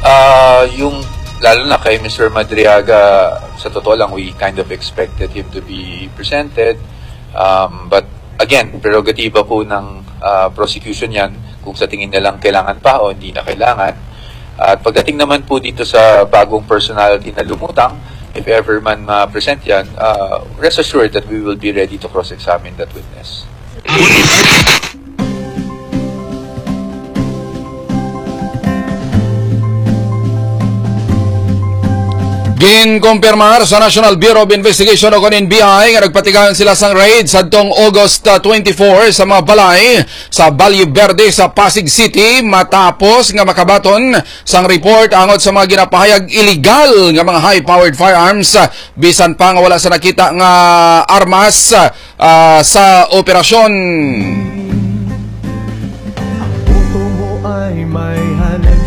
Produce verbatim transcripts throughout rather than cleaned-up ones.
Ah, yung, lalo na kay Mister Madriaga, sa totoo lang, we kind of expected him to be presented. Um, but again, prerogativa po ng, ah, prosecution yan kung sa tingin nilang kailangan pa o hindi na kailangan. At pagdating naman po dito sa bagong personality na lumutang, if ever man ma-present yan, ah, rest assured that we will be ready to cross-examine that witness. Ginkumpirmar sa National Bureau of Investigation o kon N B I nga nagpatigayon sila sang raid sadtong August, ah, twenty-four sa mga balay sa Valle Verde sa Pasig City, matapos nga makabaton sang report angot sa mga ginapahayag illegal nga mga high-powered firearms, ah, bisan pa nga wala sa nakita nga armas, ah, sa operasyon.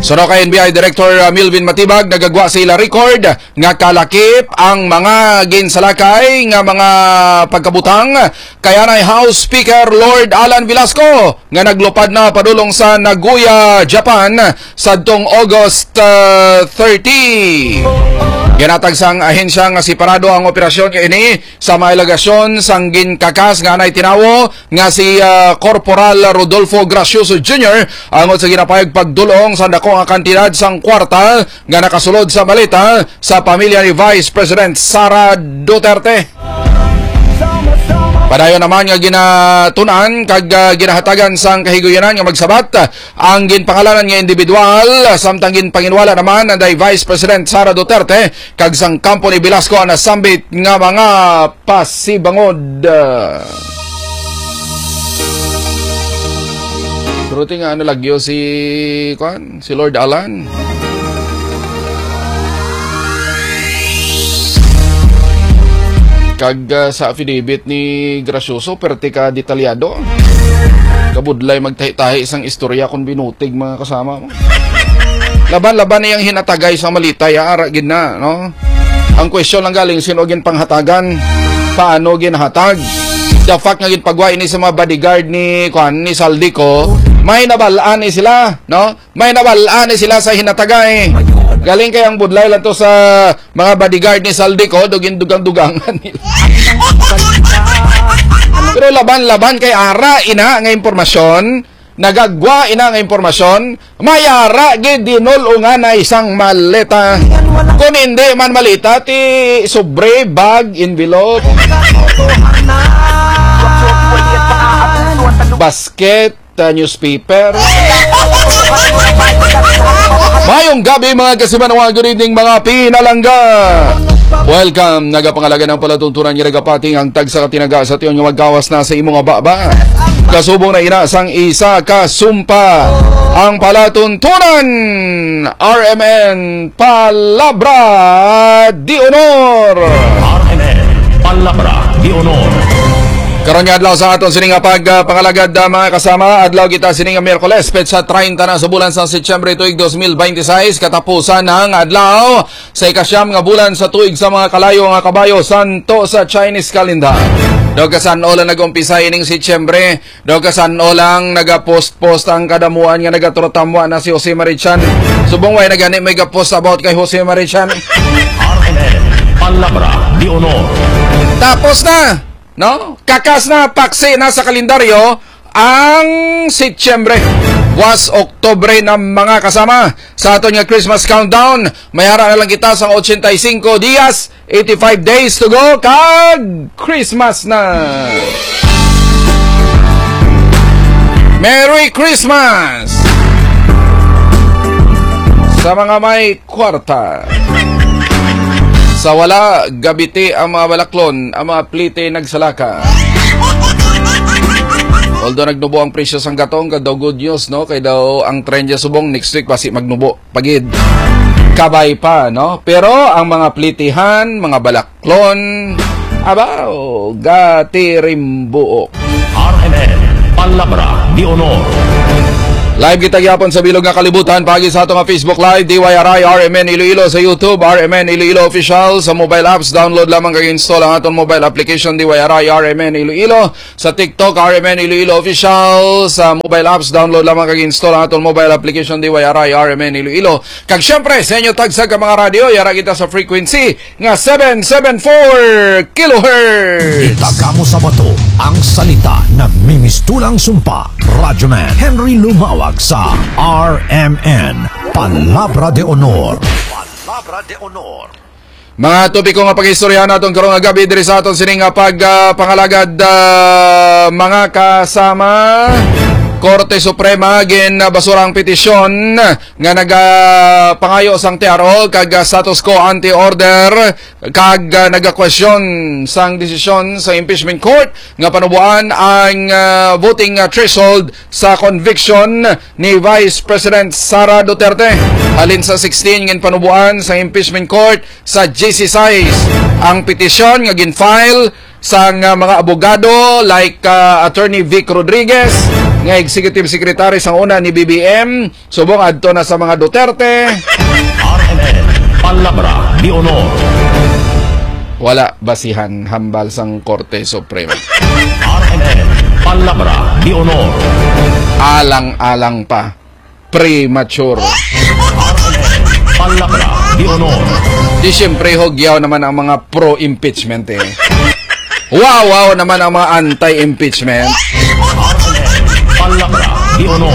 Suno kay N B I Director, ah, Milvin Matibag, nagagwa sa ila record nga kalakip ang mga ginsalakay nga mga pagkabutang kay anay House Speaker Lord Alan Velasco nga naglupad na padulong sa Nagoya, Japan, sadtong August, ah, thirty. Ginatag sang ahensya nga separado ang operasyon nga ini sa mga alegasyon sang ginkakas nga anay tinawo nga si, ah, Corporal Rodolfo Gracioso Junior angot sa ginapahayag pagdulong sa dako nga kantidad sang kwarta nga nakasulod sa maleta sa pamilya ni Vice President Sara Duterte. Padayon naman nga ginatun-an kag, ah, ginahatagan sang kahiguyunan nga magsabat ang ginpangalanan nga individual, samtang ginpanginwala naman anday Vice President Sara Duterte kag sang kampo ni Velasco ang nasambit nga mga pasibangod. Pero ti nga ano lagyo si, kuan, si Lord Alan. Kag, ah, sa affidavit ni Gracioso, perti ka detalyado. Kabudlay magtahi-tahi sang istorya kung binutig, mga kasama mo. Laban-laban niyang hinatagay sa malita, ya, ara gid na, no? Ang question lang galing, sino ginpanghatagan? Paano ginhatag? The fact nga ginpagwa ini sa mga bodyguard ni, kuan, ni Saldico, may nabalaan ni sila, no? May nabalaan ni sila sa hinatagay. Galing kay ang budlay lang to sa mga bodyguard ni Saldico, dugin dugang-dugangan nila. Pero laban-laban kay ara ina nga impormasyon, nagagwa ina nga impormasyon, may ara gid dinul-ungan na isang maleta. Kung hindi man maleta, ti sobre, bag, envelope, basket, uh, newspaper. Mayong gabi, mga kasimanwa. Good evening, mga pinalangga. Welcome. Nagapangalaga ng palatuntunan nga nagapati ang tagsa ka tinaga sa tion nga magkawas na sa imo nga baba. Kasubong na ina sang isa ka sumpa. Ang palatuntunan, R M N, Palabra de Honor. R M N, Palabra de Honor. Karon nga adlaw sa aton sini nga pag, ah, pangalagad, ah, mga kasama, adlaw kita sini nga Miyerkules, petsa treinta na sa bulan sa Setyembre tuig dos mil bente seis, katapusan ang adlaw sa ikasyam nga bulan sa tuig sa mga kalayo nga kabayo, santo sa Chinese calendar. Daw kasan-o lang nag-umpisa ining Setyembre, daw kasan-o lang nagapost-post ang kadamuan nga nagatrotamwa na si Jose Marichan. Subong way na gani may gapost about kay Jose Marichan. R M N, Palabra de Honor. Tapos na, no? Kakas na, paksi na sa kalendaryo ang Setyembre. Was Oktobre na, mga kasama. Sa aton nga Christmas countdown, may ara na lang kita sa ochenta y cinco dias, eighty-five days to go, kag Christmas na. Merry Christmas sa mga may kwarta. Sa wala, gabiti ang mga balaklon, ang mga plite nagsalaka. Although nagnubo ang presyo sang gatong, kag daw good news, no? Kay daw ang trend niya subong next week basi magnubo pagid. Kabay pa, no? Pero ang mga plitihan, mga balaklon, abaw, gatirimbuok. R M N, Palabra de Honor. Live kita gyapon sa bilog nga kalibutan, paagi sa ato nga Facebook Live, D Y R I R M N Iloilo, sa YouTube, R M N Iloilo Official, sa mobile apps, download lamang kag install ang aton mobile application, D Y R I R M N Iloilo, sa TikTok, R M N Iloilo Official, sa mobile apps, download lamang kag install ang aton mobile application, D Y R I R M N Iloilo. Kag syempre, sa inyo tagsa ka mga radyo, yara kita sa frequency nga seven seven four kilohertz. Itagamo sa bato ang salita, namimistulang sumpa. Radyoman Henry Lumawag sa R M N, Palabra de Honor. Palabra de Honor. Mga topiko nga pag-istoryahan naton karong nga gabi diri sa aton sining nga pag, ah, pangalagad, ah, mga kasama. Korte Suprema ginbasura ang petisyon nga nagapangayo sang T R O kag, ah, status quo ante order kag, ah, nagakwestiyon sang desisyon sa impeachment court nga panuboan ang, ah, voting, ah, threshold sa conviction ni Vice President Sara Duterte. Halin sa sixteen, ginpanuboan sa impeachment court sa G C size ang petisyon nga gin-file sang, ah, mga abogado like, ah, Attorney Vic Rodriguez nga Executive Secretary sang una ni B B M, subong adto na sa mga Duterte. R M N, Palabra de Honor. Wala basihan hambal sang Korte Suprema. R M N, Palabra de Honor. Alang-alang pa. Premature. R M N, Palabra de Honor. Di siyempre, hugyaw naman ang mga pro-impeachment eh. Wow, wow naman ang mga anti-impeachment. R M N, Palabra de Honor.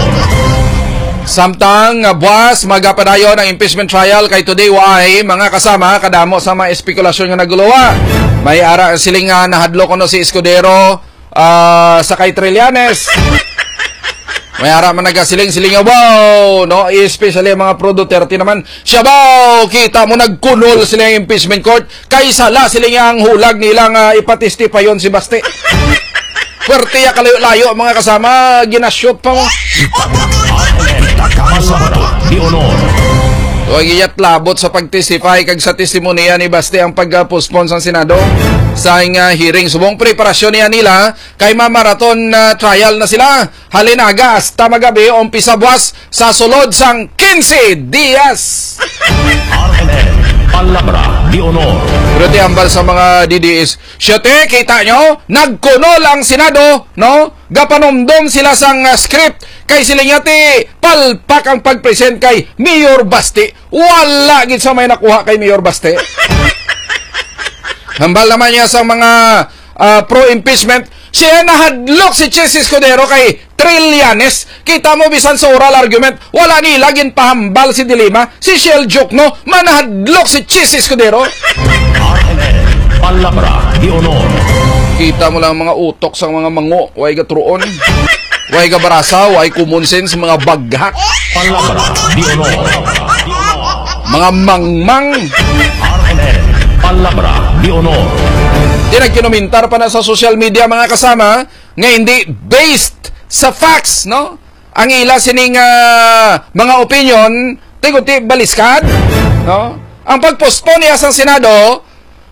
Samtang, ah, buwas, magapadayon ang impeachment trial kay today, why, mga kasama, kadamo sa mga espekulasyon nga naguluwa. May ara siling nga nahadlok kuno si Escudero, ah, sa kay Trillanes. May ara man nagasiling-siling nga, "Wow," no? Especially ang mga pro Duterte naman. "Siya ba, kita mo, nagkunol sila yung impeachment court. Kay sala sila nga ang hulag nila nga ipatestipayon si Baste." Pwerte ya kalayo-layo, mga kasama, ginashoot pa mo. Itagamo sa bato, di honor. Huwag iyat labot sa pag-testify kag sa testimonya ni Baste ang pag-postpone sang Senado sa nga hearing. Subong preparasyon niya nila kay ma-marathon na trial na sila. Halin aga hasta magabi, umpisa buwas sa sulod sang quince dias. R M N, Palabra de Honor. Pero ti ambal sa mga D D S, "Siya te, kita nyo, nagkunol ang Senado, no? Gapanumdom sila sang, ah, script, kay sila nga ti palpak ang pag-present kay Mayor Basti." Wala gid sa may nakuha kay Mayor Basti. Hambal naman niya sa mga, ah, pro-impeachment, siya nahadlok si Chiz Escudero kay Trillanes. Kita mo, bisan sa oral argument, wala nila ginpahambal si Dilima, si Shell Joke, no? Manahadlok si Chiz Escudero. R M N, Palabra de Honor. Kita mo lang mga utok sa mga mango, way gatruon, way gabarasa, way common sense, mga baghak. Palabra de Honor. Mga mangmang. R M N, Palabra de Honor. Di nagkinumintar pa na sa social media, mga kasama, nga hindi based sa facts, no? Ang ila sining, ah, mga opinion, ti kunti baliskad, no? Ang pag-postpone niya sa Senado,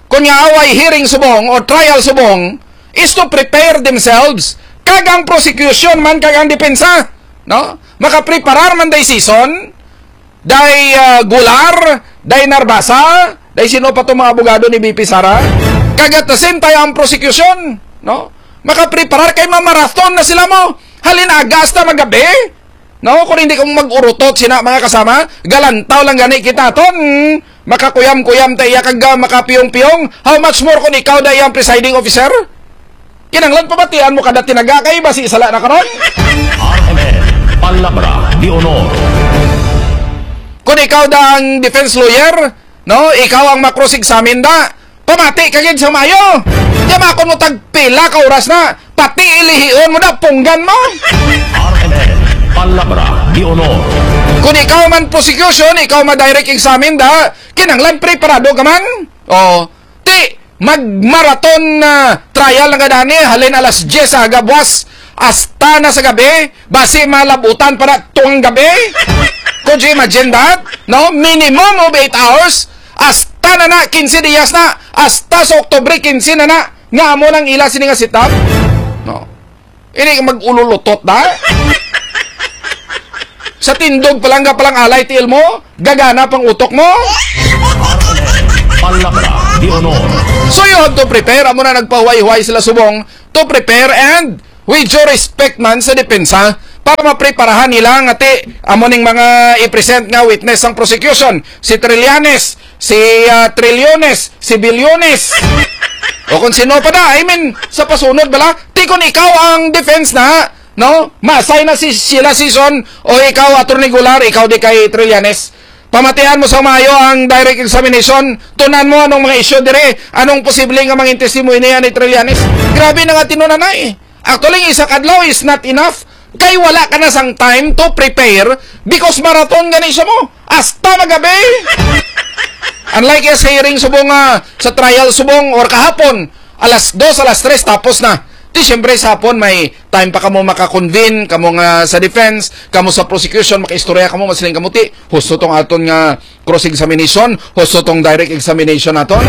kung nga away hearing subong o trial subong, is to prepare themselves. Kag ang prosecution man, kag ang depensa, no? Makapreparar man day sison, day, ah, Golar, day Narbasa, day sino pa to mga abogado ni V P Sara? Kag at the same time, ang prosecution, no? Makapreparar kay mamarathon na sila mo. Halin aga hasta magabi. No, kung hindi kamo mag-urutot sina, mga kasama, galantaw lang gani kita ton. Makakuyam-kuyam ta iya kag, ah, makapiyong-piyong. How much more kung ikaw na iyang presiding officer? Kinanglan pabatian mo kada tinaga kay basi sala na karon. R M N, Palabra de Honor. Kung ikaw da ang defense lawyer, no, ikaw ang ma-cross-examine da. Pamati ka gid sa mayo. Yamakon mo tagpila ka oras na. Pati ilihion mo na, punggan mo. R M N, Palabra de Honor. Kung ikaw man prosecution, ikaw ma-direct examine da, kinanglan preparado ka man. Oh, ti, magmarathon na trial na gani, halin alas diyes sa aga buwas, hasta na sa gabi, basi malabutan pa na tong gabi. Could you imagine that? No? Minimum of eight hours, hasta na na, quince dias na, hasta sa Oktubre quince na na, nga amo nang ila sini nga setup. No? Ini mag-ululutot na. Sa tindog pa lang ka palang alay, tiil mo, gagana pang utok mo. Palabra de honor. So you have to prepare. Amo na nagpahuway-huway sila subong to prepare and with due respect man sa depensa para mapreparahan nila nga ti amo ning mga i-present nga witness sang prosecution, si Trillanes, si ah, Trillones, si Billones. O kung sino pa na, I mean, sa pasunod bala, ti kung ikaw ang defense na, no? Masay na si sila season o ikaw, Attorney Golar, ikaw di kay Trillanes. Pamatian mo sa maayo ang direct examination. Tunan mo anong mga issue dire. Anong posible nga mangin testimony niya ni Trillanes? Grabe na nga tinunanay. Actually, isa kadlaw is not enough. Kay wala ka na sang time to prepare because marathon gani siya mo. Hasta magabi. Unlike sa hearing subong nga sa trial subong or kahapon, alas dos, alas tres, tapos na. Di siyempre sa hapon may time pa kamo maka-convene, kamo nga sa defense, kamo sa prosecution, makaistorya kamo, masiling kamo, ti, husto tong aton nga cross-examination, husto tong direct examination naton,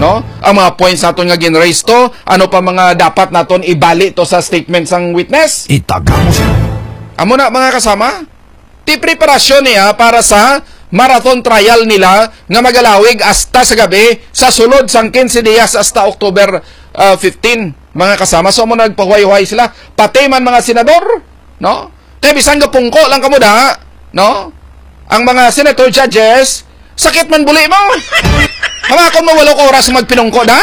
no? Ang mga points naton nga gin-raise to, ano pa mga dapat naton ibali to sa statement sang witness? Itagamos. Amo na, mga kasama, ti preparasyon niya para sa marathon trial nila nga magalawig hasta sa gabi sa sulod sang quince dias hasta October ah, fifteen, mga kasama. So, amo nagpahuway-huway sila. Pati man mga senador, no? Kay bisan gapungko lang kamo da, no? Ang mga senator judges, sakit man buli mo. Hamakon mo walo ka oras magpinungko da.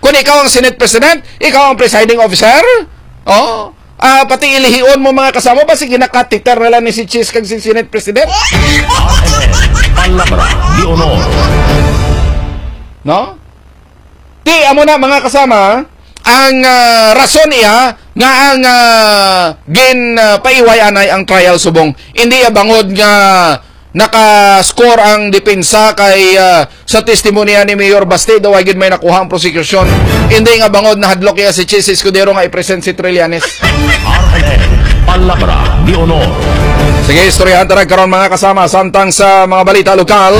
Kung ikaw ang Senate President, ikaw ang presiding officer, oh, ah, pati ilihion mo mga kasama, basi ginakatiter na lang ni si Chis kag si Senate President. Palabra de honor. No? Ti, amo na, mga kasama, ang ah, rason iya nga ang ah, gin ah, paiway anay ang trial subong. Hindi iya bangod nga naka-score ang depensa kay ah, sa testimonya ni Mayor Basti, daw ay gid may nakuha ang prosecution. Hindi nga bangod nahadlok iya si Chis Escudero nga i-present si Trillanes. R N N, Palabra de Honor. Sige, istoryahan ta na karon, mga kasama, samtang sa mga balita lokal,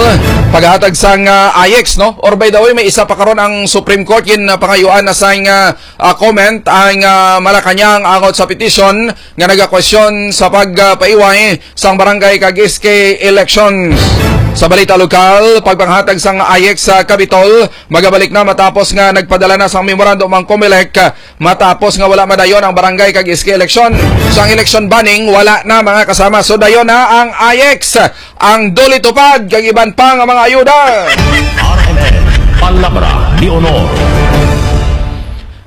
paghatag sang ah, I E X, no? Or by the way, may isa pa karon ang Supreme Court, gin ah, pangayuan na sang ah, ah, comment ang ah, Malacañang angot sa petition nga nagakwestiyon sa pagpaiway sang barangay kag S K elections. Sa balita lokal, pagpanghatag sang I E X sa Capitol, magabalik na matapos nga nagpadala na sang memorandum ang Comelec, matapos nga wala madayon ang barangay kag S K election. Sang election banning, wala na, mga kasama. So, dayon na ang I E X, ang DOLE TUPAD, kag iban pa nga mga ayuda. R N N, Palabra de Honor.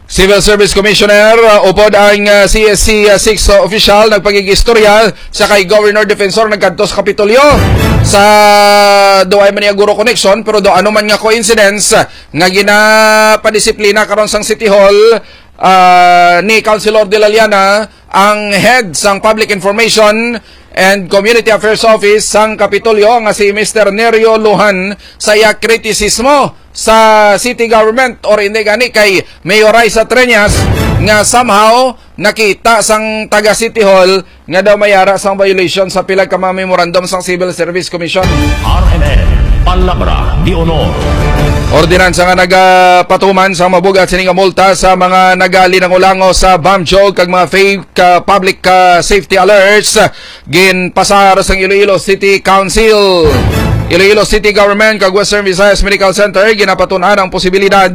Civil Service Commissioner, uh, upod ang uh, C S C uh, six uh, official nagpagig-istorya sa kay Governor Defensor nagkadto sa Kapitolyo sa, do ay man niya guro connection, pero do ano man nga coincidence, uh, nga ginapadisiplina karon sang City Hall uh, ni Councilor De La Llana, ang head sang Public Information and Community Affairs Office sang Kapitolyo nga si Mister Nerio Lujan, sa iya kritisismo sa city government or hindi gani kay Mayor Raisa Treñas nga somehow nakita sang taga City Hall nga daw may ara sang violation sa pila ka mga memorandum sang Civil Service Commission. R N N, Palabra de Honor. Ordinansa nga nagapatuman sang mabugat sini nga multa sa mga nagalinangulango sa BAMJOG kag mga fake uh, public uh, safety alerts ginpasar sang Iloilo City Council. Iloilo City Government kag Western Visayas Medical Center ginapatun-an ang posibilidad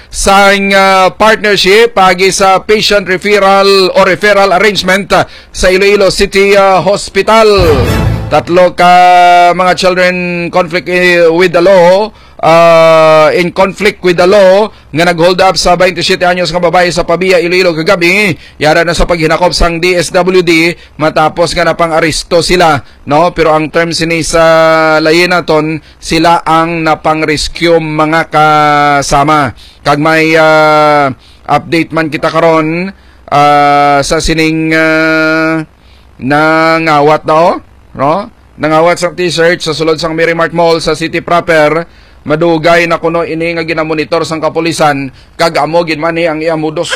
sang ah, partnership paagi sa patient referral o referral arrangement ah, sa Iloilo City ah, Hospital. Tatlo ka mga children conflict eh, with the law, ah, in conflict with the law nga nag-hold up sa twenty-seven anyos nga babae sa Pavia, Iloilo kagabi, yara na sa paghinakop sang D S W D matapos nga napang-aresto sila, no? Pero ang term sini sa layi naton, sila ang napang-rescue, mga kasama. Kag may ah, update man kita karon ah, sa sining ah, nangawat daw, no? Nangawat sa t-shirt sa sulod sang Merry Mart Mall sa city proper. Madugay na kuno ini nga ginamonitor sang kapulisan kag amo gid man ni ang iya modus.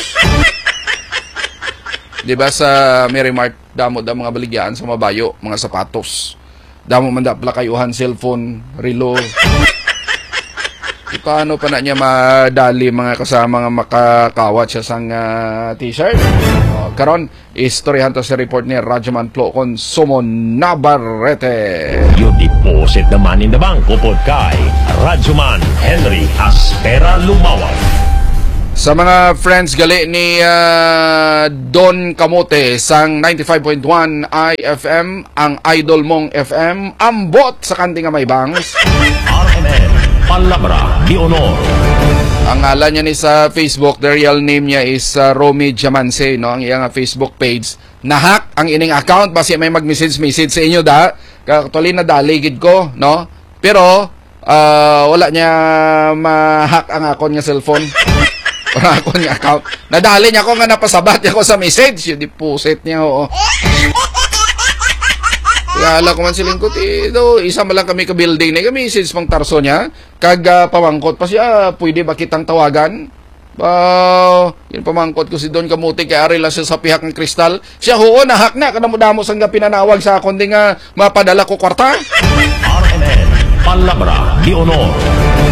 Di ba sa Merry Mart, damo da mga baligyaan sa mabayo, mga sapatos. Damo man da plakayuhan, cellphone, relo. E, paano pa na niya madali, mga kasama, nga makakawat siya sang ah, t-shirt? Oh, Karon, istoryahan ta sa report ni Radyoman Flo Consumo Navarrete. You deposit the money in the bank, upod kay Radyoman Henry Aspera Lumawag. Sa mga friends gali ni, ah, Don Kamote sang ninety-five point one I F M, ang idol mong F M, ambot sa kanti nga may bangs. R M N, Palabra de Honor. Ang ngalan niya ni sa Facebook, the real name niya is, ah, Romy Diamance, no? Ang iya nga Facebook page. Na-hack ang ining account, basi may mag-message-message sa inyo, da. Ka-, actually, nadali gid ko, no? Pero, ah, wala niya ma-hack ang akon nga cellphone. Ang akon nga account. Nadali niya ako nga napasabat niya ako sa message. Yung deposit niya, oo. Kaya alam ko man siling ko, ti, do, isa man lang kami ka building na message pang Tarso niya. Kag, ah, pamangkot pa siya, "Pwede ba kitang tawagan?" Ba, yun pamangkot ko si Don Kamote, kay ari lang siya sa pihak ng kristal. Siya, "Oo, na-hack na, kadamo-damo sang pinanawag sa akon di nga mapadala ko kwarta." R M N, Palabra de Honor.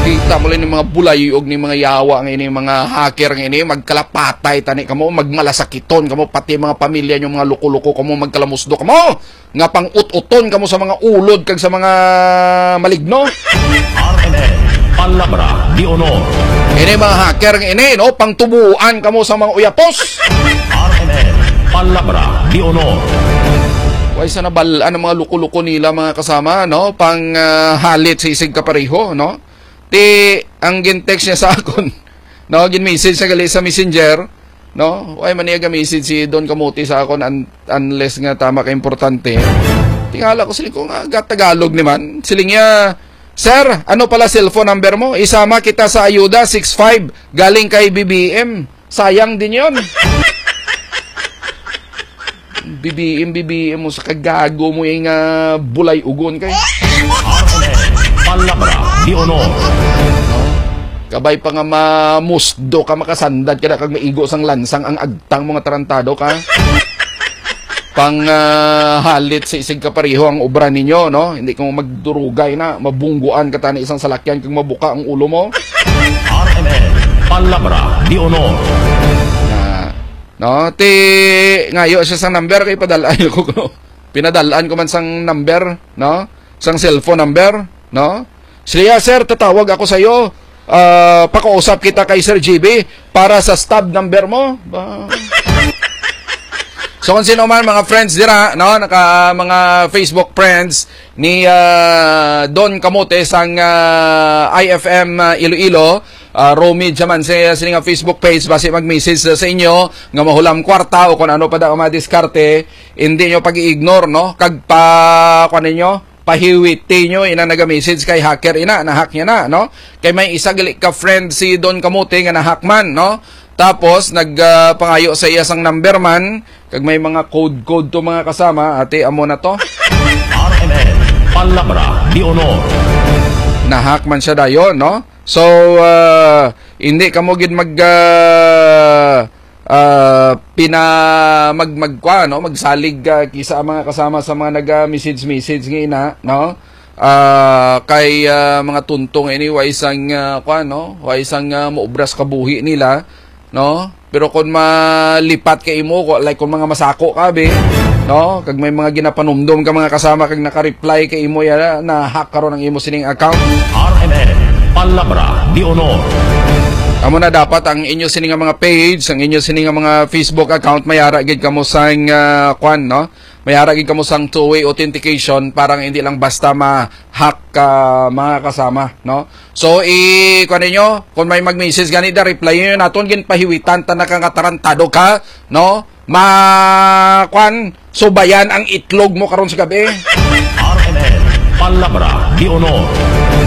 Kita mo lang yung mga bulayog ni mga yawa nga ini, mga hacker nga ini, magkalapatay tani kamo, magmalasakiton kamo, pati mga pamilya nyo, mga luko-luko kamo, magkalamusdo kamo, nga pang-ut-uton kamo sa mga ulod kag sa mga maligno. R M N, Palabra de Honor. Ini mga hacker nga ini, no? Pangtubuan kamo sa mga uyapos. R M N, Palabra de Honor. Way sa nabal-an ang mga luko-luko nila, mga kasama, no? Pang, ah, halit sa isig kapareho, no? Ti, ang gin-text niya sa akon, no? Gin-message sa gali sa messenger, no? Way man niya ga-message si Don Kamote sa akon un-, unless nga tama ka importante. Tingala ko sila ko nga ga-Tagalog ni man. Siling niya, "Sir, ano pala cellphone number mo? Isama kita sa ayuda, six five, galing kay B B M." Sayang din yon. B B M, B B M mo sa kagago mo yung, ah, bulay ugon kay. R M N, Palabra de Honor. Kabay pa nga mamusdo ka, makasandad ka na kag maigo sang lansang ang agtang mo nga tarantado ka. Pang, ah, halit sa isig kapareho ang obra ninyo, no? Hindi ka mo magdurugay na, mabungguan ka tani isang salakyan kag mabuka ang ulo mo. R M N, Palabra de Honor. Na, no? Ti, ngayo siya sang number kay padalaan ko, no? Pinadalaan ko man sang number, no? Sang cellphone number, no? Siya, "Sir, tatawag ako sa iyo. Ah, pakausap kita kay Sir G B para sa stub number mo." Ba? So, kung sino man, mga friends dira, no? Naka, mga Facebook friends ni, ah, Don Kamote sang, ah, I F M, ah, Iloilo, ah, Romy Diamante, sini nga Facebook page, basi mag-message sa, sa inyo nga mahulam kwarta o kung ano pa daw ang mga diskarte, hindi nyo pag-i-ignore, no? Kag pa, kuwan ninyo, pahiwiti nyo, ina naga-message kay hacker, ina, na-hack niya na, no? Kay may isa gali ka friend si Don Kamote nga na-hack man, no? Tapos, nag, ah, pangayo sa iya sang number man, kag may mga code-code to, mga kasama, ate, amo na to. R M N, Palabra de Honor. Na-hack man siya dayon, no? So, ah, hindi kamo gid mag, ah, ah, pina-, mag-, mag-, kwa, no? Magsalig, ah, kisa ang mga kasama sa mga naga-message-message nga ina, no? Ah, kay, ah, mga tunto nga ini, wa isang, ah, kwa, no? Wa isang, ah, maubra sa kabuhi nila, no? Pero kung malipat ka imo, ko-, like kung mga masako ka, be, no? Kag may mga ginapanumdom ka mga kasama kag naka-reply kay imo, ya, na-hack karon ang imo sining account. R M N, Palabra de Honor. Amo na dapat ang inyo sini nga mga page, ang inyo sini nga mga Facebook account, may ara gid kamo sang, ah, kwan, no? May ara gid kamo sang two-way authentication para nga hindi lang basta ma-hack ka, mga kasama, no? So, i-, kuwan ninyo, kung may mag-message gani da, reply ninyo naton, ginpahiwitan ta na ka nga tarantado ka, no? Ma-, kuwan, subayan ang itlog mo karon sa gabi. R M N, Palabra de Honor.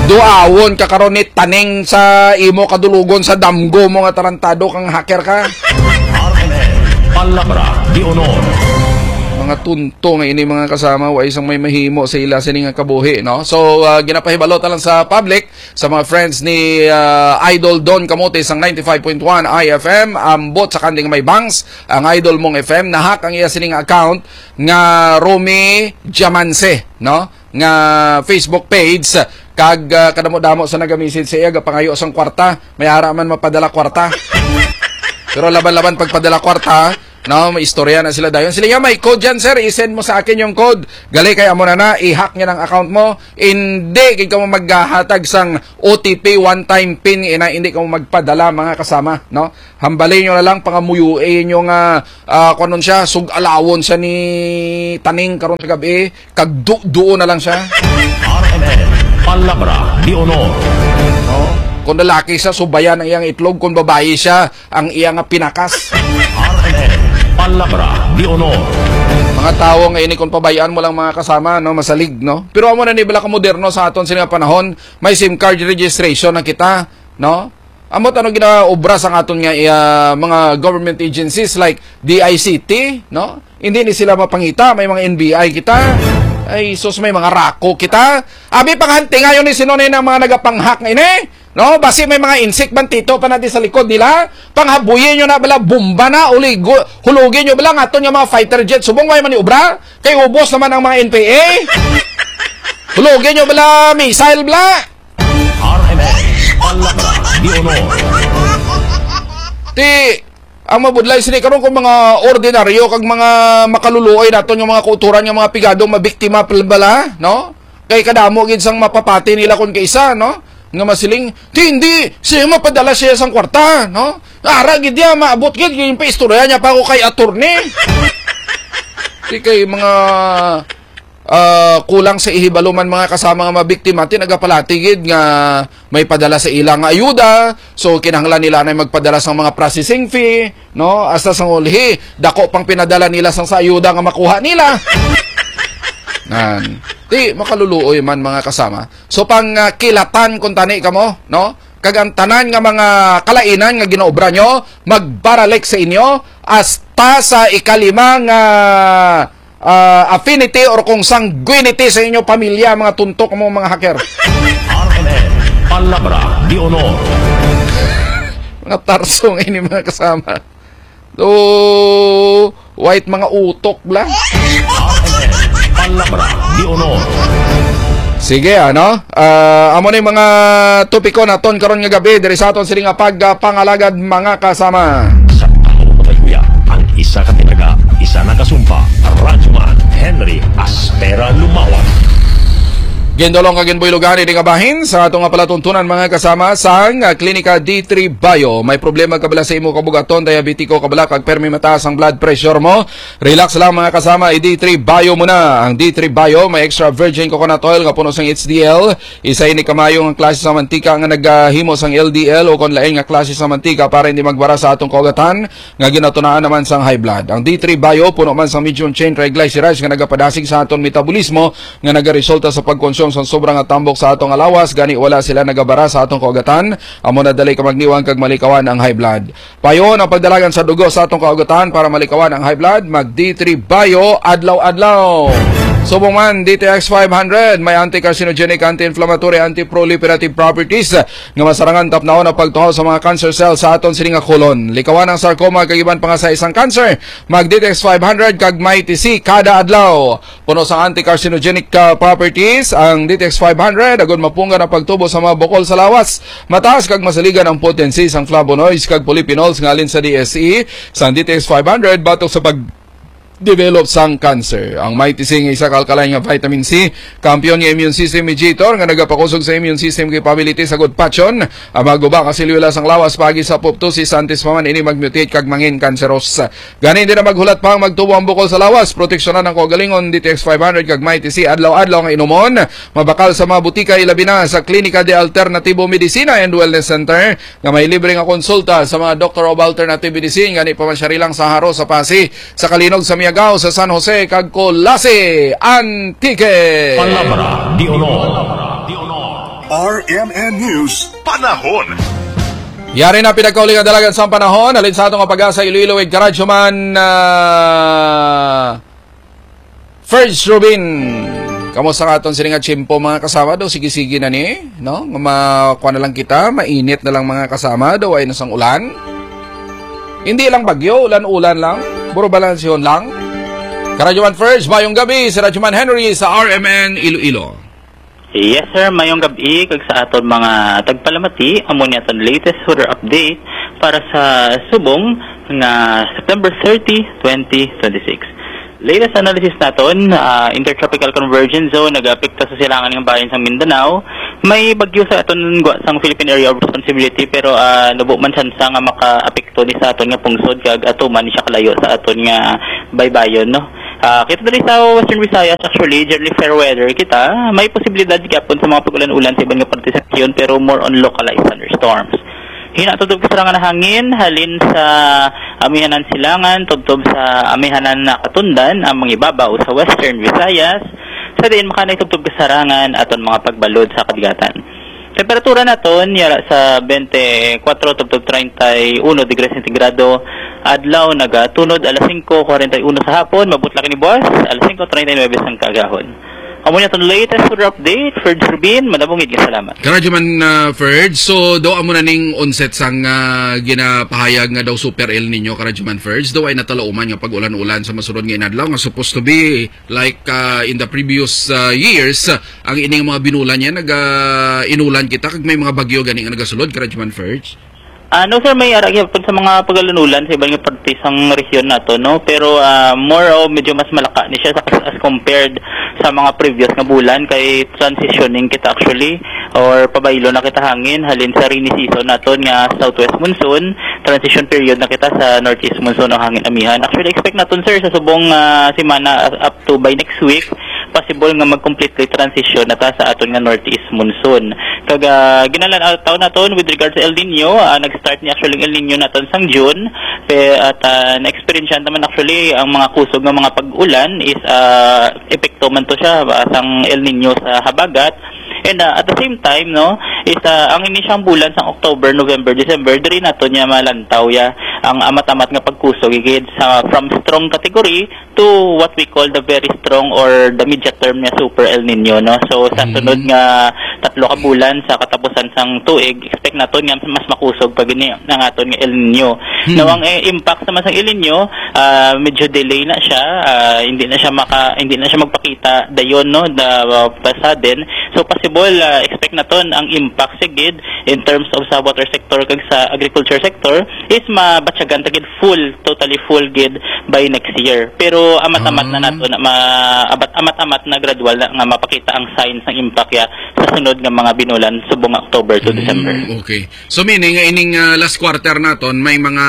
Duawon ka karon ni taning sa imo kadulugon sa damgo mo nga tarantado kang hacker ka. R M N, Palabra de Honor. Mga tunto nga ini, mga kasama, wa isang may mahimo sa ila sini nga kabuhi, no? So, ah, ginapahibalo ta lang sa public, sa mga friends ni, ah, Idol Don Kamote sang ninety-five point one I F M, ambot sa kanding may bangs, ang Idol mong F M, na-hack ang iya sining account nga Romy Diamance, no? Nga Facebook page, kag, ah, kadamo-damo sa naga-message sa iya, gapangayo sang kwarta, may ara man mapadala kwarta. Pero laban-laban pagpadala kwarta, No, may istorya na sila dayon. Sila nga, "May code yan, sir. I-send mo sa akin yung code." Gali kay amo na na, i-hack niya ng account mo. Hindi, kay ka mo maghahatag sang O T P, one-time pin, ina, hindi ka mo magpadala, mga kasama, no? Hambali nyo na lang, pangamuyo, eh, nyo nga, ah, kung anong siya, sug-alawon siya ni Taning karon sa gabi, kag du-, duo na lang siya. R M N, Palabra de Honor. Kung lalaki siya, subayan ang iyang itlog. Kung babayi siya, ang iya nga pinakas. R M N, Palabra de Honor. Mga tawo nga ini, kung pabayaan mo lang, mga kasama, no, masalig, no? Pero amo na ni bala ka moderno sa aton sini nga panahon, may SIM card registration na kita, no? Amo ano ginaobra sa aton nga, ah, mga government agencies like D I C T, no? Hindi ni sila mapangita, may mga N B I kita. Ay, sus, may mga rako kita. Abi, panghanti ngayon ni sino na mga nagapanghak nga ini. No, basi may mga insik bantito pa natin sa likod nila. Panghabuyin nyo na bala, bomba na, uligo, hulugin nyo bala, nga aton nga mga fighter jet. Subong way man ni obra, kay ubos naman ang mga N P A. Hulugin nyo bala, missile bala. R M N, Palabra de Honor. Ti, ang mabudlay sini karon kung mga ordinaryo kag mga makaluluoy naton nga mga kauturan nga mga pigadong mabiktima pal-, bala, no? Kay kadamo gid sang mapapati nila kon kaisa, no? Nga masiling, "Ti, hindi, siya mapadala siya sang kwarta, no? Ara gid niya, maabot gid, yung paistorya niya pa ako kay attorney." Ti kay mga, ah, kulang sa ihibalo man, mga kasama, nga mabiktima, ti nagapalati gid nga may padala sa ila nga ayuda, so kinahanglan nila na magpadala sang mga processing fee, no? Hasta sang ulhi, dako pang pinadala nila sang sa ayuda nga makuha nila. Nan. Ti, makaluluoy man, mga kasama. So, pang, ah, kilatan kung tani kamo, no? Kag ang tanan nga mga kalainan nga ginaobra nyo, magbaralik sa inyo, hasta sa ikalima nga, ah, affinity or kung sanguinity sa inyo pamilya, mga tuntok mo, mga hacker. R M N, Palabra de Honor. Mga tarsong ini, mga kasama. So, white mga utok bla. Palabra de Honor. Sige, ano? Ah, amo ni mga topiko naton karon nga gabi diri sa aton sini nga pagpangalagad, mga kasama. Sa panahon na kuya, ang isa ka tinaga, isa na kasumpa, Radyoman Henry Aspera Lumawan. Gindulong kag ginbuylogan ini nga bahin sa ato nga palatuntunan, mga kasama, sang, ah, Klinika D three Bio. May problema ka bala sa imo kabugaton, diabetiko ka bala, kag permi mataas ang blood pressure mo? Relax lang, mga kasama, i-D three Bio mo na. Ang D three Bio may extra virgin coconut oil nga puno sang H D L. Isa ini ka maayo nga klase sa mantika nga nagahimo sang L D L o kon lain nga klase sa mantika para hindi magbara sa atong kaugatan nga ginatunaan naman sang high blood. Ang D three Bio puno man sang medium chain triglycerides nga nagapadasig sa aton metabolismo nga nagaresulta sa pagkonsumo sang sobra nga tambok sa atong alawas, gani wala sila nagabara sa atong kaugatan. Amo na dali ka magniwang kag malikawan ang high blood. Payon ang pagdalagan sa dugo sa atong kaugatan para malikawan ang high blood. Mag D three Bio adlaw-adlaw. Subong man, D T X five hundred may anti-carcinogenic, anti-inflammatory, anti-proliferative properties nga masarangan tapnahon ang pagtuhaw sa mga cancer cells sa aton sini nga colon. Likawan ang sarcoma kag iban pa nga sa isang cancer. Mag D T X five hundred kag Mighty C kada adlaw. Puno sang anti-carcinogenic, ah, properties ang D T X five hundred, agud mapunggan ang pagtubo sa mga bukol sa lawas. Mataas kag masaligan ang potency sang flavonoids kag polyphenols nga halin sa D S E sang D T X five hundred batok sa pag-develop sang cancer. Ang Mighty C nga isa ka alkaline nga vitamin C, kampiyon nga immune system mediator nga nagapakusog sa immune system capability sa gudpatyon ang mga guba nga selyula sang lawas paagi sa apoptosis, antes pa man ini mag-mutate kag mangin cancerous. Gani, hindi na maghulat pa ang magtubo ang bukol sa lawas. Proteksyonan ang kaugalingon, D T X five hundred kag Mighty C adlaw-adlaw nga inumon. Mabakal sa mga butika, ilabi na sa Klinika de Alternativo Medicina and Wellness Center nga may libre nga konsulta sa mga Doctor of Alternative Medicine. Gani, pamasyari lang sa Haro, sa Pasi, sa Kalinog, sa Miagao, sa San Jose, kag Culasi, Antique. Palabra de Honor. R M N News Panahon. Yari na pinagkauli nga dalagan sa panahon. Halin sa ato nga pag-asa, Iloilo, ig Karadyo man, ah, First Rubin. Kamusta nga aton sini nga tiyempo, mga kasama? Do, sige-sige na ni, no? Nga ma-, kuha na lang kita, mainit na lang, mga kasama. Do, ay nasang ulan. Hindi lang bagyo, ulan-ulan lang. Puro balansyon lang. Karadyo man First, mayong gabi. Si Radyo man Henry sa R M N Iloilo. Yes, sir. Mayong gabi kag sa aton mga tagpalamati, amo ni aton latest weather update para sa subong nga September thirty, twenty twenty-six. Latest analysis naton, ah, Intertropical Convergence Zone nag-apekto sa silangan nga bahin sang Mindanao. May bagyo sa aton gwa sang Philippine Area of Responsibility, pero, ah, nubo man tsansa nga makaapekto ni sa aton nga pungsod kag atuman ni siya kalayo sa aton nga baybayon, no? Ah, kita diri sa Western Visayas, actually, generally fair weather kita. May posibilidad gyapon sa mga pag-ulan-ulan sa iban nga parte sa rehiyon, pero more on localized thunderstorms. Hina tubtob kasarangan na hangin halin sa amihanan silangan, tubtob sa amihanan na katundan, ang mga ibabaw sa Western Visayas, sa diin makanay tubtob kasarangan aton mga pagbalod sa kadagatan. Temperatura naton yara sa twenty-four tubtob thirty-one degrees centigrado. Adlaw nagatunod alas singko kwarenta y uno sa hapon, mabutlak ini buwas alas singko treinta y nuebe sang kaagahon. Amo ni aton latest weather update, Ferds Rubin, madamo gid nga salamat. Karadyo man, ah, Ferds. So, daw amo na ning onset sang, ah, ginapahayag nga daw super El Nino, karadyo man, Ferds. Daw ay natalauman nga pag-ulan-ulan sa masunod nga inadlaw nga supposed to be like, ah, in the previous, ah, years, ah, ang ining mga binulan niya, naga-inulan kita, kag may mga bagyo gani nga nagasulod, karadyo man, Ferds. Ah, no, sir, may ara gyapon sa mga pag-ulan-ulan sa iban nga parte sang rehiyon nato, no? Pero, ah, more o medyo mas malaka ni siya sa, as compared sa mga previous nga bulan, kay transitioning kita actually, or pabaylo na kita hangin halin sa rainy season naton nga southwest monsoon, transition period na kita sa northeast monsoon o hangin amihan. Actually, expect naton, sir, sa subong, ah, semana, ah, up to by next week, possible nga mag-completely transition na ta sa aton nga northeast monsoon. Kag, ah, ginalan-ataw naton with regard sa El Nino, ah, nag-start ni actually ang El Nino naton sang June, pe-, at, ah, na-experience naman actually ang mga kusog nga mga pag-ulan is, ah, epekto man to siya, ah, sang El Nino sa habagat. And, ah, at the same time, no, is, ah, ang ini siyang bulan sang October, November, December, diri nato niya malantaw ya ang amat-amat nga pagkusog, igid sa from strong category to what we call the very strong or the media term niya, super El Nino, no? So, sa Mm. sunod nga tatlo ka bulan sa katapusan sang tuig, expect naton nga mas makusog pa gini ang aton nga El Nino. Hmm. Now, ang, eh, impact naman sang El Nino, ah, medyo delay na siya, ah, hindi na siya maka-, hindi na siya magpakita dayon, no, the, uh, pa sudden. So, possible, ah, expect naton ang impact sigid in terms of sa water sector kag sa agriculture sector is mabatyagan ta gid full, totally full gid by next year. Pero amat-amat na Ah. nato na ma-, abat-, amat-amat na gradual na nga mapakita ang signs ng impact ya sa sunod nga mga binulan subong October to Mm, December. Okay. So meaning nga ining, ah, last quarter naton may mga,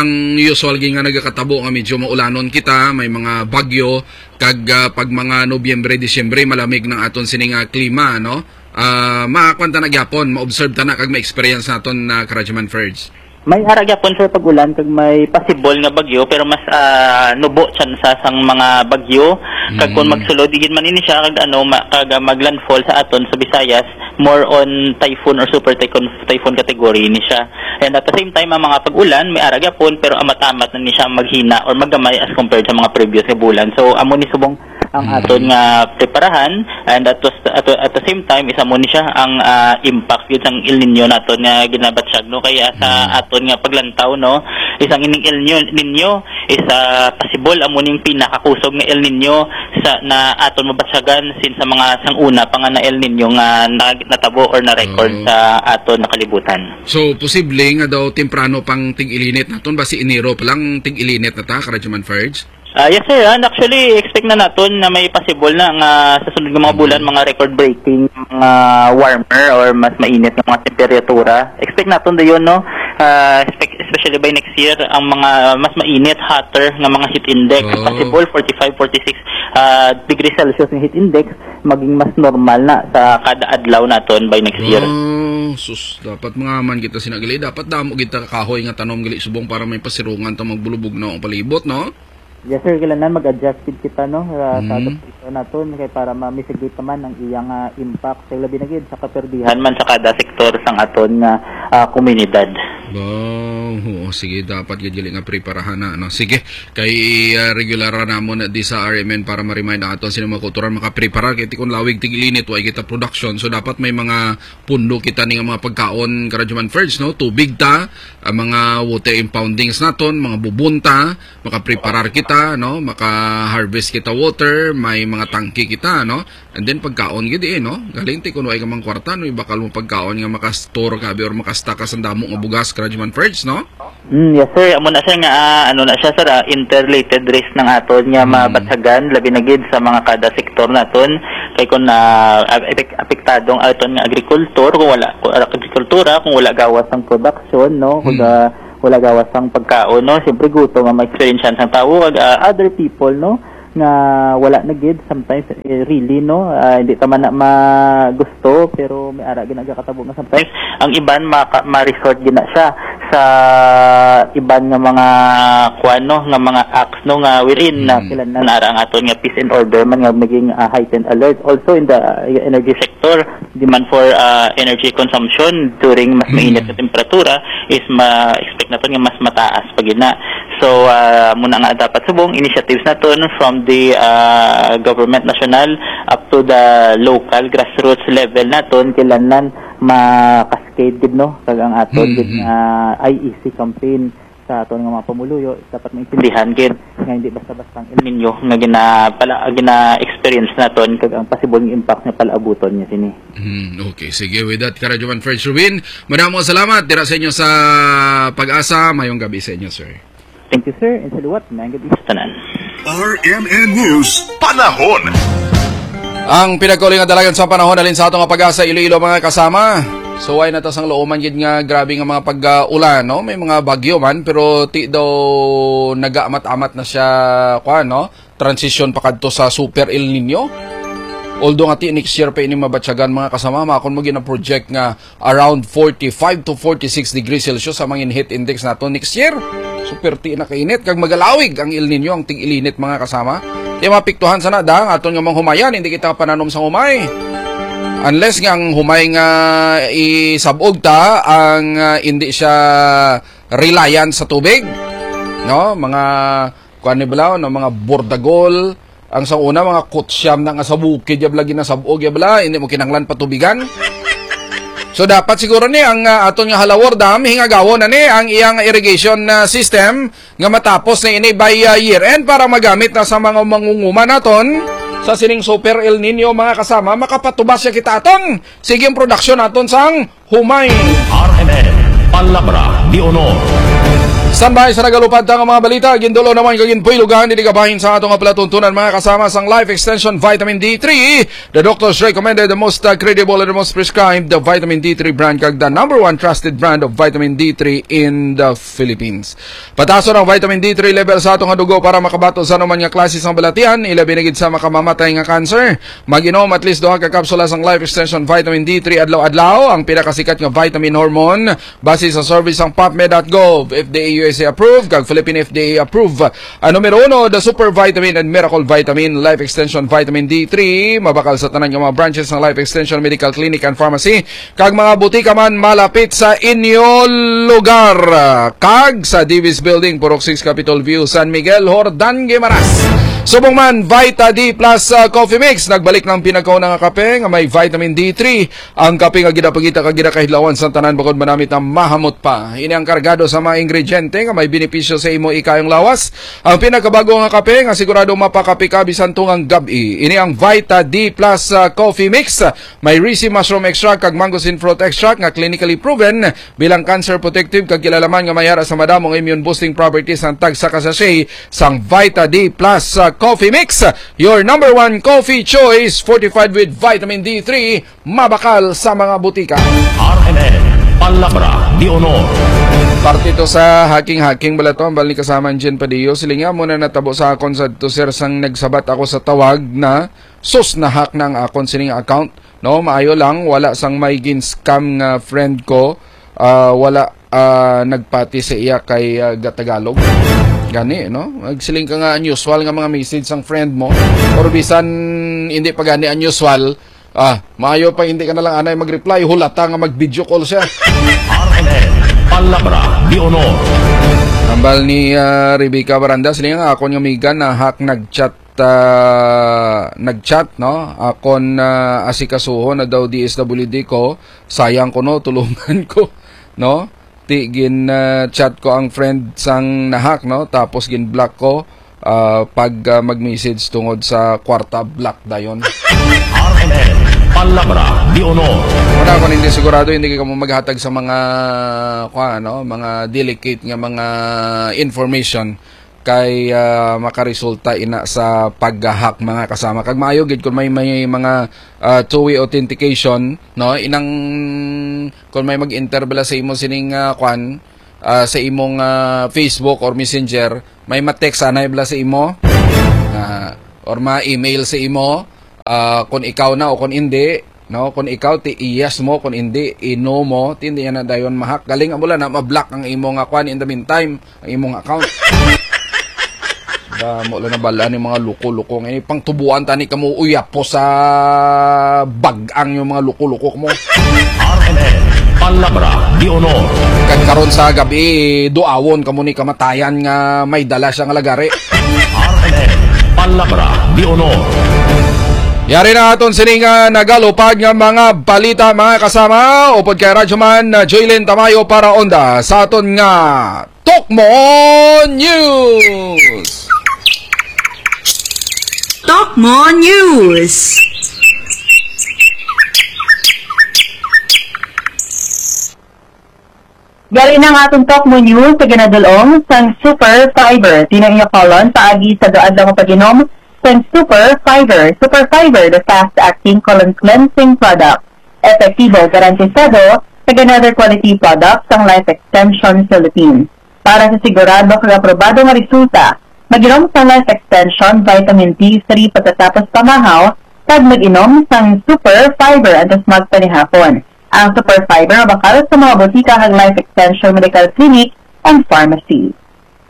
ang usual gid nga nagakatabo nga medyo maulanon kita, may mga bagyo, kag, ah, pag mga Nobyembre, Disyembre malamig ng aton sini nga klima, no? Ah, makuan ta na gyapon, ma-observe ta na kag ma-experience naton na, Karajaman Ferds. May ara gyapon, sir, pag-ulan kag may possible nga bagyo, pero mas, ah, nubo tsansa sang mga bagyo. Kag kung Mm. magsulod gid man ini siya kag ano, ma-, kag, ah, maglandfall sa aton sa Visayas, more on typhoon or super typhoon, typhoon category ni siya. And at the same time, ang mga pag-ulan may ara gyapon, pero amat-amat na ni siya maghina or magamay as compared sa mga previous nga bulan. So, amo ni subong ang Mm. aton nga preparahan, and at the, at, at the same time, isa mo ni siya ang, ah, impact gyud sang El Nino naton nga ginabatyag, no? Kaya sa Mm. aton nga paglantaw, no, isang ining El Nino, Nino is, ah, possible amo ning pinakakusog nga El Nino sa, na aton mabatyagan since sa mga sang una pa nga na El Nino nga na-, natabo or na-record Mm. sa aton nga kalibutan. So, posible nga daw temprano pang tig-ilinit naton, basi Enero pa lang tig-ilinit na ta, Karajaman Ferds? Ah, yes, sir. And actually, expect na naton na may possible na nga sa sunod nga mga bulan, Mm. mga record-breaking, mga warmer or mas mainit nga mga temperatura. Expect naton dayon, no? Ah, expect, especially by next year, ang mga mas mainit, hotter nga mga heat index. Oh. Possible forty-five, forty-six, ah, degrees Celsius nga heat index, maging mas normal na sa kada adlaw naton by next year. Oh, sus, dapat mangaman kita sina gali. Dapat damo kita kahoy nga tanom gali subong para may pasirungan ta magbulubog na ang palibot, no? Yes, sir. Kailangan mag-adjust gid kita, no, sa, sa Mm. adaptation naton kay para ma-mitigate naman ang iyang, ah, impact. Kay labi na gid sa kaperdihan man sa kada sektor sang aton nga, ah, komunidad. Wow. Oo, sige, dapat gid gali nga preparahan na, no? Sige, kay, ah, regular ra namon di sa R M N para ma-remind ang aton sino mga kulturan makaprepara kay tikon lawig tig-ilinit wa kita production. So dapat may mga pundo kita ni nga mga pagkaon, Karajaman Ferds, no? Tubig ta, ang mga water impoundings naton, mga bubon ta, makapreparar kita, no? Maka-harvest kita water, may mga tangke kita, no? And then pagkaon gid, eh, no? Galing ti kung way ka mang kwarta, no? Ibakal mo pagkaon nga maka-store ka abi or maka-stock ka sa damo nga bugas, Rajuman Ferds, no? Mm, yes, sir. Amo na siya nga, ah, ano na siya, sir, ah, interrelated risk ng aton nga Mm. mabatyagan, labi na gid sa mga kada sektor naton. Kay kung, ah, ap-, epek-, apektado ang aton nga agrikultor, kung wala, kung, ah, agrikultura, kung wala gawas ang production, no? Kung, Mm. ah, wala gawas ang pagkaon, no? Siyempre, gutom ang ma-experience sang tawo, ag, ah, other people, no? Nga wala na gid sometimes, eh, really, no? Ah, hindi ta man na magusto, pero may ara gid nagakatabo nga sometimes ang iban maka-, ma-resort gid na siya sa iban nga mga kuan, no, nga mga acts, no, nga wherein na Mm. kailangan ara ang aton nga peace and order man nga maging, ah, heightened alert. Also in the, ah, energy sector, demand for, ah, energy consumption during mas Mm. mainit na temperatura is ma-expect naton nga mas mataas pa gid na. So, ah, muna nga dapat subong initiatives naton from the, ah, government national up to the local grassroots level naton, kailangan ma-cascade gid, no, kag ang aton gid Mm-hmm. nga I E C campaign sa aton nga mga pamuluyo dapat maintindihan gid nga hindi basta-basta ang El Nino nga gina-, pala, gina-experience naton kag ang possible nga impact nga palaabuton niya sini. Hmm, okay. Sige, with that, Karadyoman Fred Rubin, madamo salamat dira sa inyo sa Pag-asa. Mayong gabi sa inyo, sir. Thank you, sir, and saluwat. Mayong gabi sa tanan. R M N News, panahon. Ang pinagkauli nga dalagan sa panahon halin sa ato nga Pag-asa Iloilo, mga kasama. So, why na ta sang lauman gid nga grabe nga mga pag-ulan, no? May mga bagyo man, pero ti daw nagaamat-amat na siya, kuwan, no? Transition pa kadto sa Super El Nino. Although nga ti next year pa ini mabatyagan, mga kasama, makon mo gina-project nga around forty-five to forty-six degrees Celsius ang mga heat index nato next year. So, perti na kainit. Kag magalawig ang El Nino, ang tig-ilinit, mga kasama. Di mapiktuhan sana da ang aton nga mga humayan, hindi kita pananom sa humay. Unless nga ang humay nga isabog ta, ang, ah, hindi siya reliant sa tubig. No? Mga kuan ni bala, no, mga bordagol. Ang sa una, mga kutsyam na nga sa bukid, ya bala, ginasabog, ya bala, hindi mo kinahanglan patubigan. So, dapat siguro ni ang, ah, aton nga Halawor Dam, hingagawon na ni ang iyang irrigation, ah, system nga matapos na ini by, ah, year end para magamit na sa mga mangunguma naton sa sining Super El Nino, mga kasama, makapatubas siya kita aton. Sige ang production naton sang humay. R M N, Palabra de Honor. Standby sa nagalupad ta nga mga balita, gindulo naman kag ginpuylugan didi kabahin sa ato nga palatuntunan, mga kasama, sang Life Extension Vitamin D three, the doctor's recommended, the most, uh, credible, and the most prescribed, the Vitamin D three brand, kag the number one trusted brand of Vitamin D three in the Philippines. Patason ang Vitamin D three level sa ato nga dugo para makabato sa anuman nga klase sang balatian, ilabi na gid sa makamamatay nga cancer. Mag-inom at least duha ka kapsula sang Life Extension Vitamin D three adlaw-adlaw, ang pinakasikat nga vitamin hormone, base sa survey sang PubMed dot gov, F D A U S A approved, kag Philippine F D A approved. Ang numero uno, the Super Vitamin and Miracle Vitamin, Life Extension Vitamin D three, mabakal sa tanan nga mga branches sang Life Extension Medical Clinic and Pharmacy, kag mga butika man malapit sa inyo lugar. Kag sa Divis Building, Purok six, Capitol View, San Miguel, Jordan, Guimaras. Subong man, Vita D plus, uh, Coffee Mix. Nagbalik ng pinakauna nga kape nga may vitamin D three. Ang kape nga ginapangita kag ginakahidlawan sa tanan bukod manamit na mahamot pa. Ini ang kargado sa mga ingrediente nga may benepisyo sa imo ikayong lawas. Ang pinakabago nga kape nga sigurado mapakape ka bisan tungang gab-i. Ini ang Vita D plus, uh, Coffee Mix. May ricin mushroom extract kag mangosteen fruit extract nga clinically proven bilang cancer protective kag kilala man nga may ara sa madamo nga immune boosting properties ang tagsa ka sachet sang Vita D plus, uh, Coffee Mix, your number one coffee choice, fortified with vitamin D three, mabakal sa mga butika. R M N, Palabra de Honor. Parte to sa hacking-hacking bala to, ang bali kasama ang Jen Padillo. Silinga mo na natabo sa akon sa to, sir, sang nagsabat ako sa tawag na sus, na-hack na ang akon sining account. No, maayo lang, wala sang may gin-scam nga friend ko, ah, wala, ah, nagpati sa iya kay, ah, ga-Tagalog. Gani, no? Nagsiling ka nga unusual nga mga message sang friend mo, or bisan hindi pa gani unusual, ah, maayo pa hindi ka na lang anay mag-reply, hulata nga mag-video call siya. R M N, Palabra de Honor. Hambal ni, ah, Rebecca Baranda, siling nga akon nga amiga na-hack, nag-chat, ah, nag-chat, no? Akon, ah, asikasuhon na daw D S W D ko. Sayang ko, no? Tulungan ko, no? Ti gin, ah, chat ko ang friend sang na-hack, no? Tapos gin-block ko, ah, pag, ah, mag-message tungod sa kwarta, block dayon. R M N, Palabra de Honor. Muna Kung hindi sigurado, hindi ka mo maghatag sa mga, kuwan, no, mga delicate nga mga information kay, ah, makaresulta ina sa paghahack, mga kasama. Kag maayo gid kung may, may mga, ah, two-way authentication, no, inang kung may mag-enter bala sa imo sining, ah, kwan, ah, sa imong, ah, Facebook or Messenger, may ma-text anay bala sa imo, ah, or ma-email sa imo, ah, kung ikaw na o kung hindi, no? Kung ikaw, ti yes mo, kung hindi, ino mo, ti hindi na dayon mahak. Galing mo lang na ma-block ang imo nga kwan in the meantime, ang imong account. Damo lang nabalaan yung mga luko-luko. Ngayon, pang tubuan tani kamo, uyapo sa bag-ang yung mga luko-luko mo. R M N, Palabra de Honor. Kag karon sa gabi, duawon kamo ni kamatayan nga may dala siya nga lagari. R M N, Palabra de Honor. Yari na aton sini nga nagalupad nga mga balita, mga kasama. Upod kay Radyoman, uh, Joylin Tamayo para onda sa aton nga Tokmo News. Tokmo News. Yari na nga atong Tokmo News sa ginadulong sang Super Fiber. Tinayo colon paagi sa duadlaw nga pag-inom sang Super Fiber. Super Fiber, the fast-acting colon cleansing product. Epektibo, garantisado, kag another quality product sang Life Extension Philippines. Para sa sigurado kag aprobado nga resulta, mag-inom sang Life Extension Vitamin D three pagkatapos pamahaw, kag mag-inom sang Super Fiber antes magpanihapon. Ang Super Fiber mabakal sa mga botika kag Life Extension Medical Clinic and Pharmacy.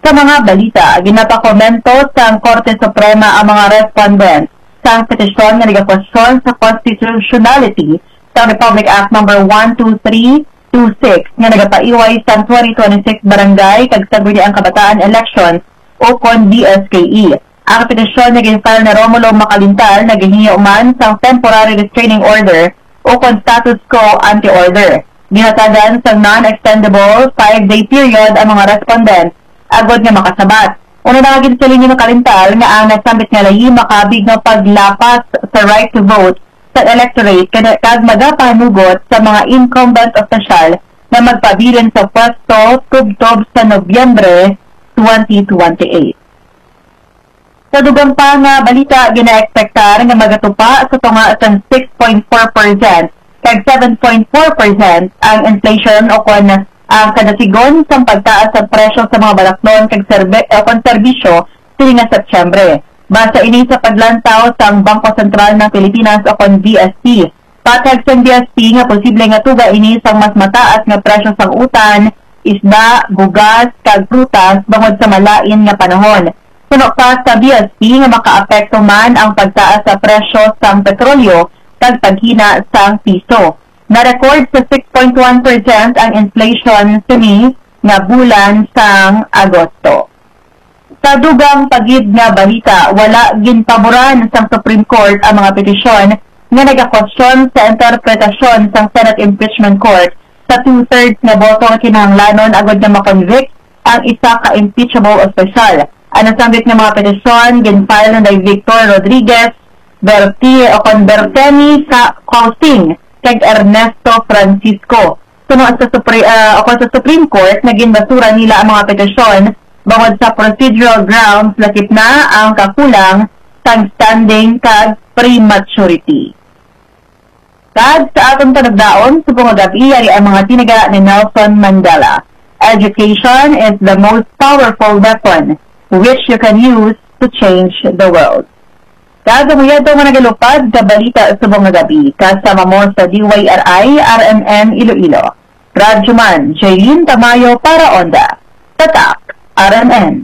Sa mga balita, ginapakomento sang Korte Suprema ang mga respondent sang petisyon nga nagakwestiyon sa constitutionality sang Republic Act Number one two three two six nga nagapaiway sang twenty twenty-six Barangay kag Sangguniang Kabataan Elections o kon B S K E. Ang petisyon nga gin-file ni Romulo Macalintal nagahingyo man sang temporary restraining order o kon status quo ante order. Ginhatagan sang non-extendable five-day period ang mga respondent agod nga makasabat. Una na nga ginsiling ni Macalintal nga ang nasambit nga layi makabig nga paglapas sa right to vote sa electorate kada kag magapanugot sa mga incumbent opisyal nga magpabilin sa pwesto tubtob sa Nobyembre twenty twenty-eight. Sa dugang pa nga balita, ginaekspektar nga magatupa sa tunga sang six point four percent kag seven point four percent ang inflation o kon ang kadasigon sang pagtaas sa presyo sa mga balaklon kag serbe-, o kon serbisyo sini nga Setyembre. Basa ini sa paglantaw sang Bangko Sentral ng Pilipinas o kon B S P. Patag sang B S P nga posible nga tuga ini sang mas mataas nga presyo sang utan, isda, bugas, kag prutas bangod sa malain nga panahon. Suno pa sa B S P nga makaapekto man ang pagtaas sa presyo sang petrolyo kag paghina sang piso. Na-record sa six point one percent ang inflation sini nga bulan sang Agosto. Sa dugang pa gid nga balita, wala ginpaboran sang Supreme Court ang mga petisyon nga nagakwestiyon sa interpretasyon sang Senate Impeachment Court sa two-thirds nga boto nga kinahanglanon agud nga ma-convict ang isa ka impeachable opisyal. Ang nasambit nga mga petisyon gin-file ni Victor Rodriguez Berti o kon Berteni sa Causing kag Ernesto Francisco. Suno sa Supre-, ah, o kon sa Supreme Court, naging basura nila ang mga petisyon bangod sa procedural grounds, lakip na ang kakulang sang standing kag prematurity. Kag sa aton panagdaon, subong nga gab-i, yari ang mga tinaga ni Nelson Mandela. Education is the most powerful weapon which you can use to change the world. Kag amo yadto nga nagalupad ka balita subong nga gab-i, kasama mo sa D Y R I, R M N Iloilo. Radyo Man, Jaylene Tamayo para Onda. Tatak, R M N.